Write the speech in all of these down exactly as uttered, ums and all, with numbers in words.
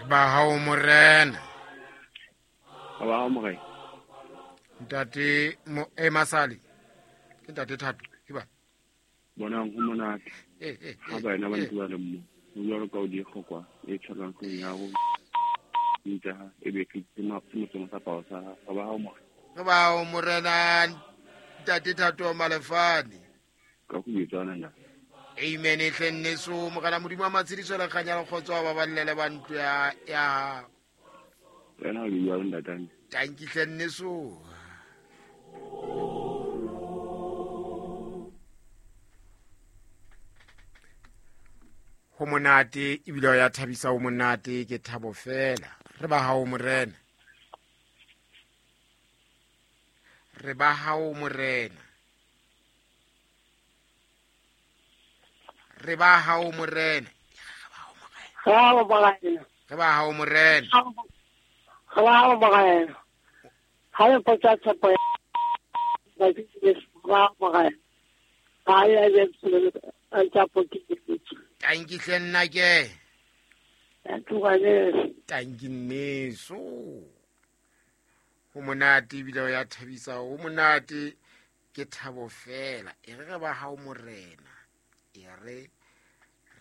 Ba hao morena. Ba hao morena. Ntate mo e masali. Ke ntate Thato ke ba. Bonang ho monate. Eh eh. Ha ba ena ba ntse ba le mo. Ho jwalo ka o di kgokwa e tshwarang tlung ya ho. Ntse ha e be ke tsema tsema sa pao sa ba hao morena. Ba hao morena ntate Thato Malefane. Ka go bitsana na. Amen hle nneso morena Modimo wa matshediso le kganya le kgotso ba ballele ba ntlo ya ya wena o bua le ntatane. Tanki hle nneso. Ho monate ebile ya thabisa ho monate ke thabo fela. Re ba hao morena. Re ba hao morena. Re ba hao morena. Re ba hao morena. Re ba hao morena. Ha le potsa tshepo ya ba ke ba morena. Ha ya le tsa poti. Tanki hle nna ke. Tantugane. Tanki nneso. Ho monate ebile ya thabisa ho monate ke thabo fela. E re re ba hao morena. E re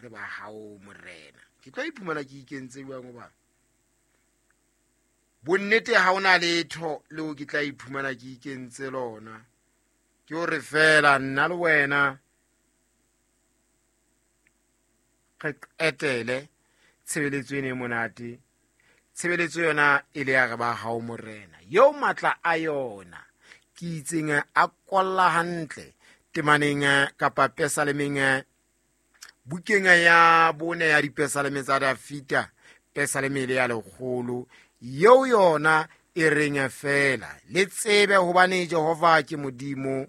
re ba hao morena. Ke tlo iphumana ke ikentse jwang hoba bonnete ha ona letho leo ke tla iphumana ke ikentse lona. Ke hore fela nna le wena re qetele tshebeletso ene monate. Tshebeletso yona e le ya re ba hao morena. Yo matla a yona ke itseng a kolla hantle temaneng kapa pesalemeng bukeng ya bone ya dipesaleme tsa Dafita pesaleme le ya lekgolo yeo yona e reng fela le tsebe hobane Jehova ke Modimo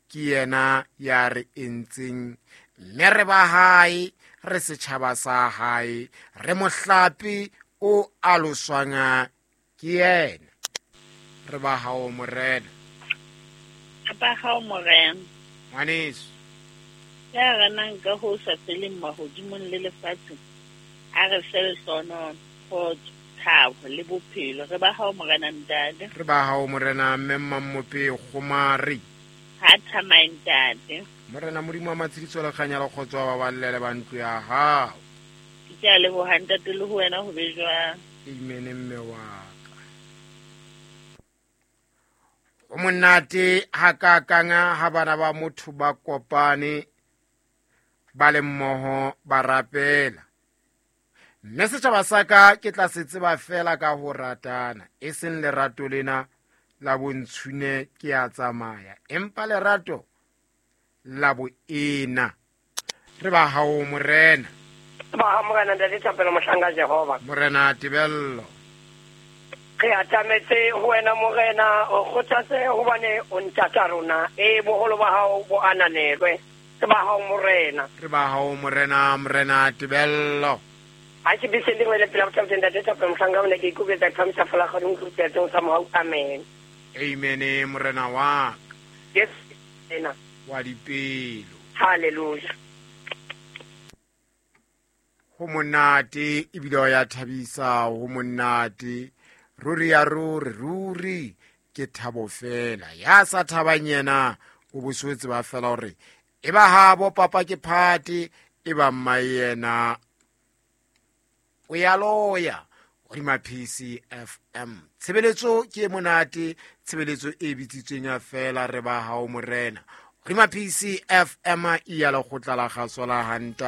ke yena ya re entseng mme re ba hae re setjhaba sa hae re mohlape o aloswang ke yena. Re ba hao morena. Ba hao morena. Ngwaneso. Ya renang ka ho sa feleng mahodimong le lefatsheng a re fe lehlohonolo, kgotso, thabo le bophelo. Re ba hao morena ntate. Re ba hao morena mme Mmamope Kgomari. Ha thamae ntate. Morena Modimo wa matshediso le kganya le kgotso ba ballele ba ntlo ya hao. Ke a leboha ntate le ho wena ho be jwang. Amen mme wa ka. O monate hakakang ha bana ba motho ba kopane ba le mmoho ba rapela. Mme setjhaba sa ka ke tla se tseba fela ka ho ratana, e seng lerato lena la bontshune ke a tsamaya, empa lerato la boena. Re ba hao morena. Ba hao morena ntate Thapelo mohlanka Jehova. Morena Tebello. Re atametse ho wena morena, o kgothatse hobane o ntata rona. E boholo ba hao bo ananelwe. Re ba hao morena. Re ba hao morena, morena Tebello. Ha ke bese lengwe le pela botsa ntate Thapelo mohlanka o ne ke ikoketsa phamisa fela ga dingwe tsa mohau. Amen. Amen morena wa ka. Yes ena. Wa dipelo. Hallelujah. Ho monate ebile ya thabisa ho monate. Ruri ya ruri ruri ke thabo fela. Ya sa thabang yena o boswetse ba fela hore e ba habo papa ke phate e ba mma yena o ya loya. Hodima P C F M. Tshebeletso ke monate, tshebeletso e bitsitsweng fela re ba hao morena. Hodima P C F M e ya lekgotla la kgaso la Hanta.